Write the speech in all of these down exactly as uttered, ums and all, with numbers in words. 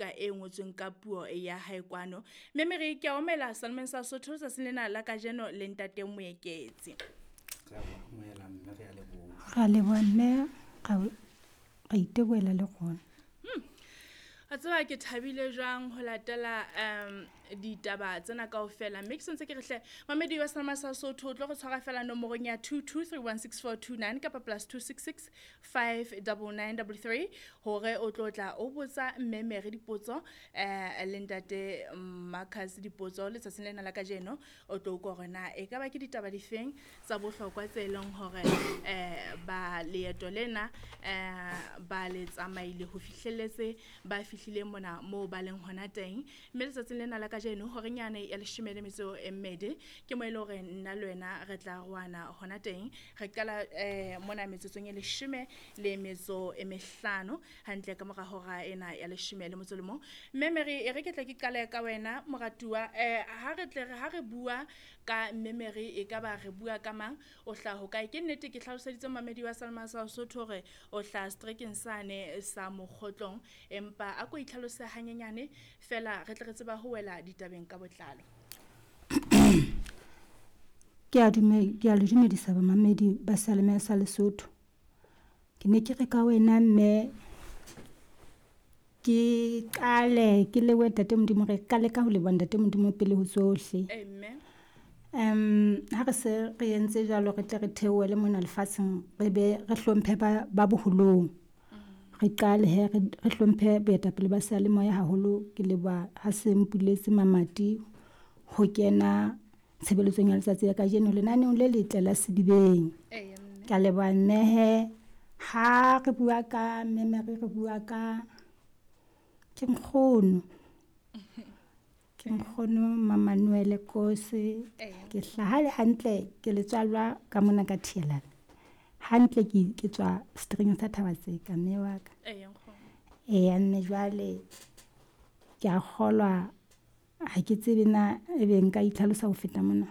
buka e ngotsweng ka puo ya hae kwano. Mme Mary ke a omela Salmon sa Sotho tsatsing lena la kajeno le ntate Moeketsi. Re a amohela mme re a leboha. Ra leboha mme ra itebohela le rona. A tseba ke thabile jwang ho latela um ditaba tsena kaofela, mme ke sentse ke re hle mamedi wa Salma sa Sotho o tlo re tshwara fela nomorong ya two two three one six four two nine kapa plus two six six five double nine double three hore o tlo tla o botsa mme Mary dipotso eh le ntate Marcus dipotso letsatsing lena la kajeno. O tlo utlwa hore na e ka ba ke ditaba difeng tsa bohlokwa tse leng hore eh ba leeto lena eh ba le tsamaile ho fihlelletse ba fihlile mona moo ba leng hona teng. Mme letsatsing lena la kajeno horeng yane ya leshome le metso e mmedi ke mo e le hore nna le wena re tla roana hona teng. Re qala eh mona metsotsong e leshome le metso e mehlano hantle ka mora hora ena ya leshome le motso le mong. Mme Mary e re ke tle ke qale ka wena moratuwa, eh ha re tle re ha re bua ka mme Mary e ka ba re bua ka mang, o hlaha hokae? Ke nnete ke hlaloseditse mamedi wa Salma sa Sotho hore o hlaha strekeng sane sa Mokgotlong, empa a ko itlhalose hanyenyane fela re tle re tseba ho wela ditabeng ka botlalo. Ke a dume, ke a le dumedisa bamamedi ba Salema sa Lesotho. Ke ne ke re ka wena mme ke qale ke lebohe ntate Modimo, re qale ka ho leboha ntate Modimo pele ho tsohle. Amen. Um ha re se re entse jwalo re tle re theohele mona lefatsheng re be re hlomphe ba ba boholong. Re qale he re re hlomphe boetapele ba seyalemoya haholo. Ke leboha ha se mpuletse mamati ho kena tshebeletsong ya letsatsi la kajeno lenaneong le letle la Sedibeng. Eya mme. Ke a leboha mme he. Ha re bua ka mme Mary re bua ka ke nkgono. Ke nkgono Mamanuele Kose. Eya. Ke hlaha le hantle ke letswallwa ka mona ka Thielane. Hantle ke ke tswa seterekeng sa Thaba-Tseka mme wa ka. Eya nkgono. Eya mme jwale ke a kgolwa ha ke tsebe na ebe nka itlhalosa ho feta mona.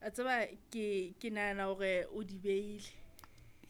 A tseba ke ke nahana hore o di beile.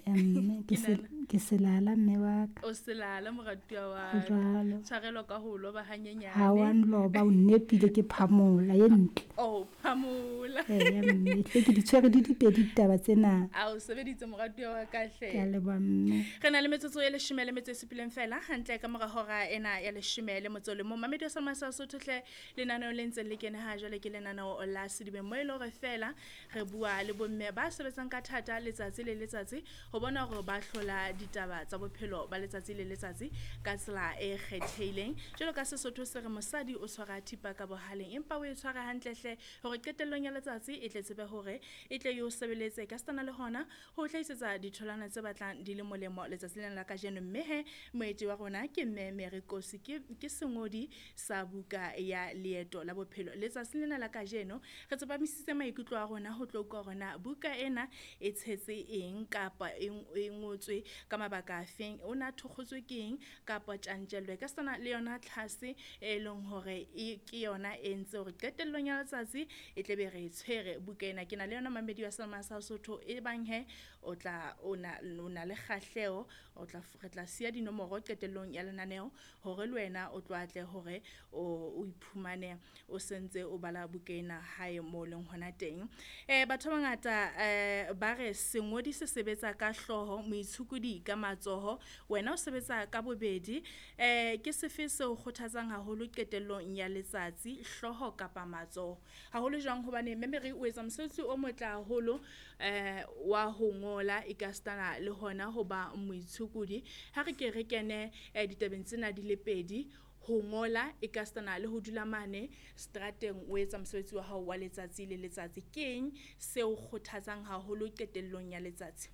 Ya mme ke Ke se nahana. ke selala mme wa ka. O selala moratuwa wa Ho ka. jwalo. Tshwarelo ka ho loba hanyenyane. Ha wa nloba o nnepile ke phamola ye ntle. Oh, phamola. Eya mme hle ke di tshwere di dipedi ditaba tsena. A o sebeditse moratuwa wa ka hle. Ke a leboha mme. Re na le metsotso e leshome le metso e supileng fela hantle ka mora hora ena ya leshome le motso le mong. Mamedi wa Salma sa Sotho hle lenaneo le ntseng le kene ha jwale ke lenaneo la Sedibeng mo e le hore fela re bua le bomme ba sebetsang ka thata letsatsi le letsatsi ho bona hore ba hlola ditaba tsa bophelo ba letsatsi le letsatsi ka tsela e kgethehileng. Jwalo ka Sesotho se re mosadi o tshwara thipa ka bohaleng empa o e tshwara hantle hle hore qetellong ya letsatsi e tle tsebe hore e tle e o sebeletse ka setana le hona ho hlahisetsa ditholwana tse batlang di le molemo letsatsi lena la kajeno. Mme he moeti wa rona ke mme Mary Kosi, ke, ke sengodi sa buka ya Leeto la Bophelo. Letsatsi lena la kajeno re tsepamisitse maikutlo a rona ho tlo utlwa hore na buka ena e tshetse eng kapa e e ngotswe ka mabaka a feng, o na thokgotswe ke eng kapa tjantjello e ka sena le yona tlhase e leng hore e ke yona e ntse hore qetellong ya letsatsi e tle be re e tshwere buka ena. Ke na le yona mamedi wa Salma sa Sotho e bang he o tla o na o na le kgahleho, o tla re tla siya dinomoro qetellong ya lenaneo hore le wena o tlo atle hore o o iphumane o sentse o bala buka ena hae mo leng hona teng. Eh batho ba bangata eh ba re sengodi se sebetsa ka hlooho, moitshokodi ka matsoho, wena o sebetsa ka bobedi. Eh ke sefe seo kgothatsang haholo qetellong ya letsatsi, hlooho kapa matsoho? Haholo jwang hobane mme Mary o etsa mosebetsi o motle haholo eh wa ho ngola ekasitana le hona ho ba moitshokodi. Ha re ke re kene eh ditabeng tsena di le pedi, ho ngola ekasitana le ho dula mane strateng o etsa mosebetsi wa hao wa letsatsi le letsatsi. Ke eng seo kgothatsang haholo qetellong ya letsatsi?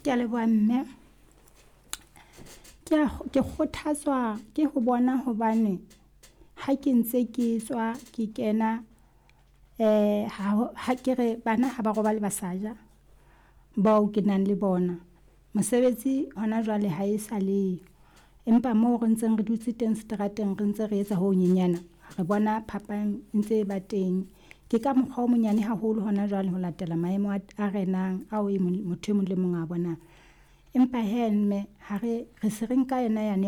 Ke a leboha mme. Ke a ke kgothatswa ke ho bona hobane ha ke ntse ke tswa ke kena eh ha ha ke re bana ha ba robale ba sa ja bao ke nang le bona. Mosebetsi hona jwale ha e sa leyo, empa moo re ntseng re dutse teng seterateng re ntse re etsa ho honyenyana, re bona phapang e ntse e ba teng. Ke ka mokgwa o monyane haholo hona jwale ho latela maemo a, a renang ao e mong motho e mong le mong a bonang. Empa he mme ha re re se re nka yona yane